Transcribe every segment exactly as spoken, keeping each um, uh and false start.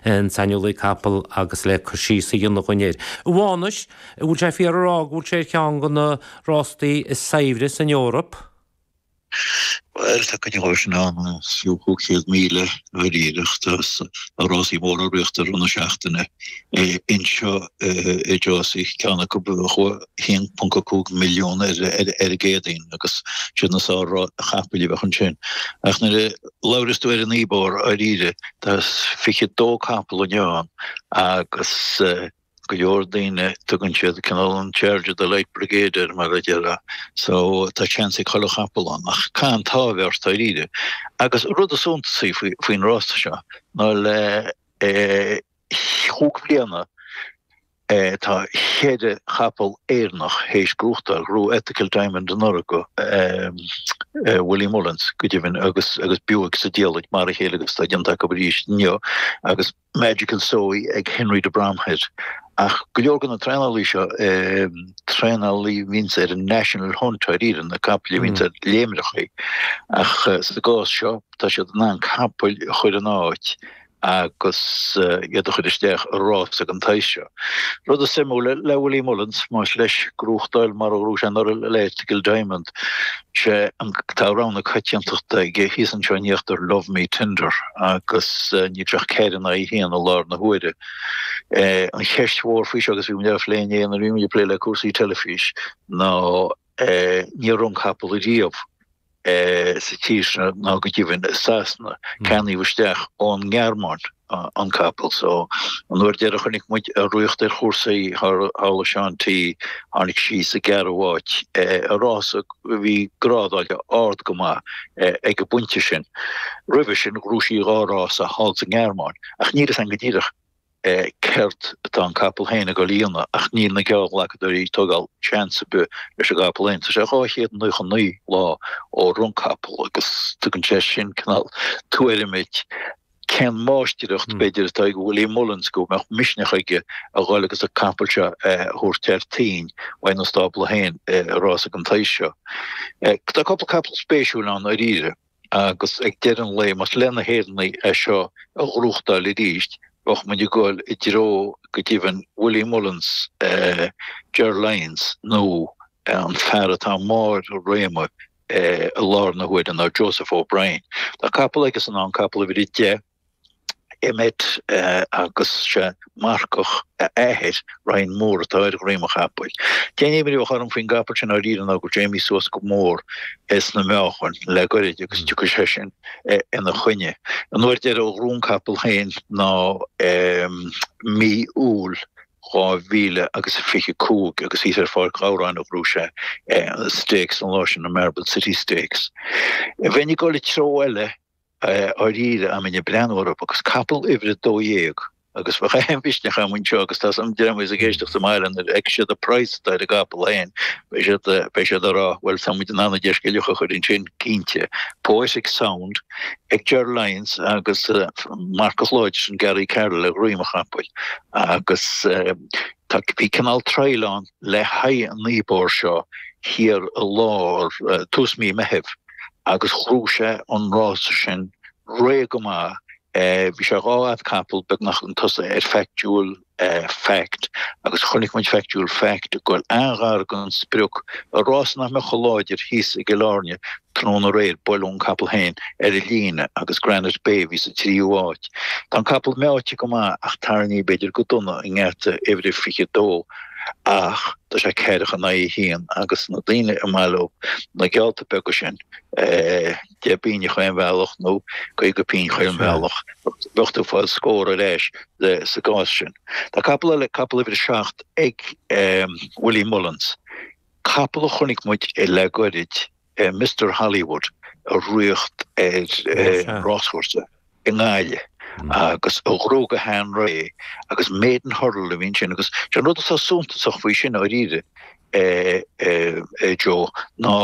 an saineolaí capall agus le cur síos a dhéanamh dúinn air. Mhánais, bhfuil sé fíor a rá go bhfuil sé ar cheann de na rástaí is saibhre san Eoraip? Well tá cuid sin ann fiú cúig míle dáiríreach tá rásaí móra á rith i rith na seachtaine anseo i Jersey ceann acu haon ponc cúig milliún ar ar an gCéadaoin agus sin na sár chapaill a bheadh ansin. Ach nuair a labhras tú ar an Ebor dáiríre tá fiche dó capall ann agus go leor daoine tugann siad cineál an charge of the light brigade ar mar a deir so tá seans ag chuile chapall ann ach can tábhar dáiríre. Agus rud is suntasaí faoin rása seo ná le chúig bliana tá ceithre chapall Éireannach théis gnóthachtáil ghnóthaigh Ethical Diamond anuraidh Willie Mullins go deimhin agus agus Buick sa diallait mar a chéile agus tá déanta acu arís inniu agus Magical Zoe ag Henry de Bromhead. Ach go leor de na traenálaí seo traenálaí bhíonns ar an National Hunt ar na capaill bhíonns ar léimreachaí ach sa gcás seo tá siad in ann capaill a chur in áit agus iad a chur isteach i rás ag an tsaghas seo. Rud is suimiúla le Willie Mullins más leis gnóthachtáil mar a ghnóthaigh sé anuraidh le Ethical Diamond sé tá rogha na coitiantachta aige thíos anseo in íochtar Love Me Tender agus níl sé ach ceithre in aghaidh haon i láthair na huaire. An cheist mhór faoi seo agus bhí muid á phlé inné nuair a bhí muid ag plé le cúrsaí teilifís ná níor rith an capall riamh sa tír seo ná go deimhin i Sasana ceannaíodh isteach ón nGearmáin an capall so an uair deireadh chonaic muid í ag rith ar chúrsaí thall i Sean T tháinig sí sa gceathrú háit i rás a bhí grádáilte ard go maith ag an bpointe sin. Roimhe sin ghnóthaigh sí dhá rása thall sa nGearmáin ach níl a fhios againn go díreach céard atá an capall féin ag dul a dhéanamh ach níl na geallghlacadóirí ag tógáil seans ar bith leis an gcapall féin. Tá sé dhá chéad nócha naoi lá ó rith an capall agus tugann sé sin cineál tuairim duit cén máistreacht b'fhéidir atá ag Willie Mullins go mbeadh misneach aige a dhul agus an capall seo a thabhairt ar toinn uaidh na stábla féin i rás ag an tsaghas seo. Tá cúpla capall spéisiúil ann dáiríre agus ag deireadh an lae más le na hÉireannaigh é seo a ghnóthachtáil arís bheadh muid ag dul i dtreo go deimhin Willie Mullins Ger Lyons nó an fear atá i mbarr a réime i láthair na huaire ná Joseph O'Brien. Tá capall aige san ann capall uimhir a deich Emmet agus sé marcach a athair Ryan Moore atá ar dhroim an chapaill. An t-aon imní a bheadh orm faoin gcapall sin dáiríre ná go dtéimí suas go mór sna meáchain le goirid agus tiocfaidh sé sin ina choinne. An uair deireadh a ghnóthaigh an capall féin ná mí Iúil dhá mhíle agus a fiche cúig agus thíos ar Pháirc Ghabhráin a ghnóthaigh sé Stakes an lá sin na Marble City Stakes. Bheinn ag dul i treo eile dáiríre dá mbeinn ag breathnú orthu agus capall uimhir a dó dhéag agus bheadh aon mhisneach agam anseo agus tá an dream ag éisteacht sa mbaile nuair a fheicfidh siad an praghas atá ar an gcapall féin beidh siad beidh siad ag rá well tá muid in ann deich scilling a chur ansin cinnte. Poetic Sound ag Ger Lyons agus marcach láidir sin Gary Carroll ar dhroim an chapaill agus tá bhí cineál trial ann le haghaidh an Ebor seo thiar i lár tús mí Meithimh agus ghnóthaigh sé an rása sin réidh go maith bhí sé dhá fhad capall beagnach chun tosaigh ar Factual Fact agus chonaic muid Factual Fact go bhfuil an-ghar don sprioc i rás nach mbeadh chomh láidir thíos i gCill Airne tráthnóna aréir buaileadh an capall féin ar an líne agus Granite Bay bhí sa tríú háit. Tá an capall meáite go maith ach tarraingthe b'fhéidir go dona i ngeata uimhir a fiche dó ach tá sé ceathracha in aghaidh a haon agus na daoine i mbaile na geallta beaga sin deich bpingin chaon bhealach nó caoga pingin chaon bhealach bheadh tú ag fáil scór ar ais sa gcás sin. Tá capall eile capall uimhir a seacht ag Willie Mullins. Capall a chonaic muid le goirid Mr Hollywood ag rith ar ráschúrsa i nGaillimh agus a ghnóthaigh go han-réidh agus Maiden Hurdle a bhí ansin agus sé an rud atá suntasach faoi sin dáiríre Joe ná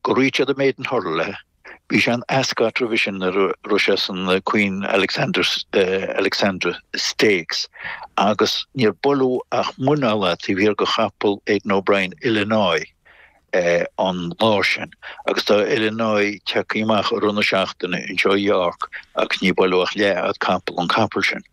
gur rith siad an Maiden Hurdle le bhí sé in Ascot roimhe sin nuair a rith sé san Queen Alexander Alexandra Stakes agus níor buaileadh ach muineál taobh thiar de chapall Aidan O'Brien Illinois an lá sin agus tá Illinois tagtha amach i rith na seachtaine anseo i York agus ní buaileadh ach leathfhad capall an capall sin.